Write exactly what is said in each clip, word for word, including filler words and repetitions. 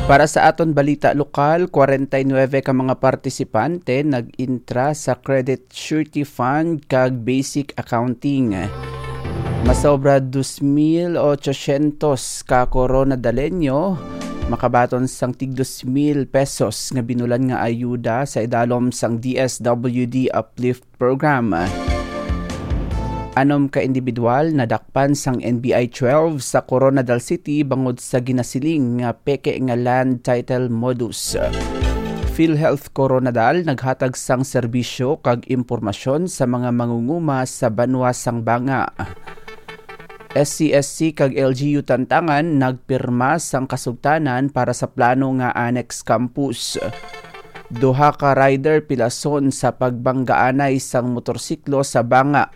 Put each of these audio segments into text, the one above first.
Para sa aton balita lokal, kwarenta y nuebe ka mga partisipante nag-intra sa Credit Surety Fund kag Basic Accounting. Masobra dos mil ochocientos ka Coronadalenyo makabaton sang tig dos mil pesos nga binulan nga ayuda sa idalom sang D S W D Uplift Program. Anom ka individual nadakpan sang N B I twelve sa Coronadal City bangod sa ginasiling nga peke nga land title modus. PhilHealth Coronadal naghatag sang serbisyo kag impormasyon sa mga mangunguma sa banwa sang Banga. S C S C kag L G U Tantangan nagpirma sang kasugtanan para sa plano nga annex campus. Duha ka rider pilason sa pagbanggaanay sang motorsiklo sa Banga.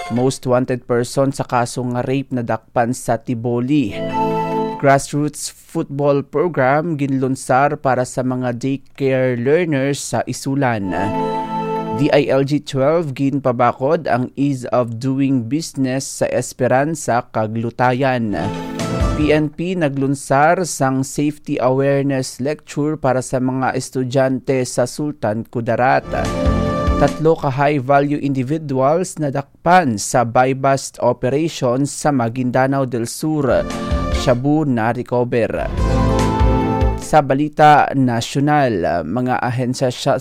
Most wanted person sa kaso nga rape nadakpan sa Tiboli. Grassroots football program ginlunsar para sa mga daycare learners sa Isulan. D I L G twelve ginpabakod ang ease of doing business sa Esperanza kag Lutayan. P N P naglunsar sang safety awareness lecture para sa mga estudyante sa Sultan Kudarat. Tatlo ka high-value individuals nadakpan sa buy-bust operation sa Maguindanao del Sur. Shabu na-recover. Sa balita nasyonal, mga ahensya siya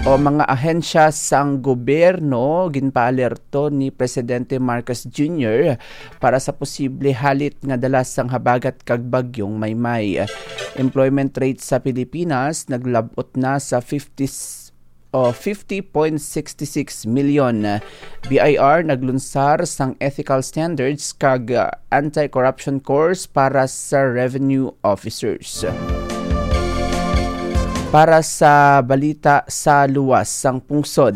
o mga ahensya sang gobyerno ginpaalerto ni Presidente Marcos Junior para sa posible halit nga dala sang habagat kag bagyong Maymay. Employment rate sa Pilipinas naglab-ot na sa fifty o fifty point six six million. B I R naglunsar sang ethical standards kag, uh, anti-corruption course para sa revenue officers. Para sa balita sa luwas sang pungsod,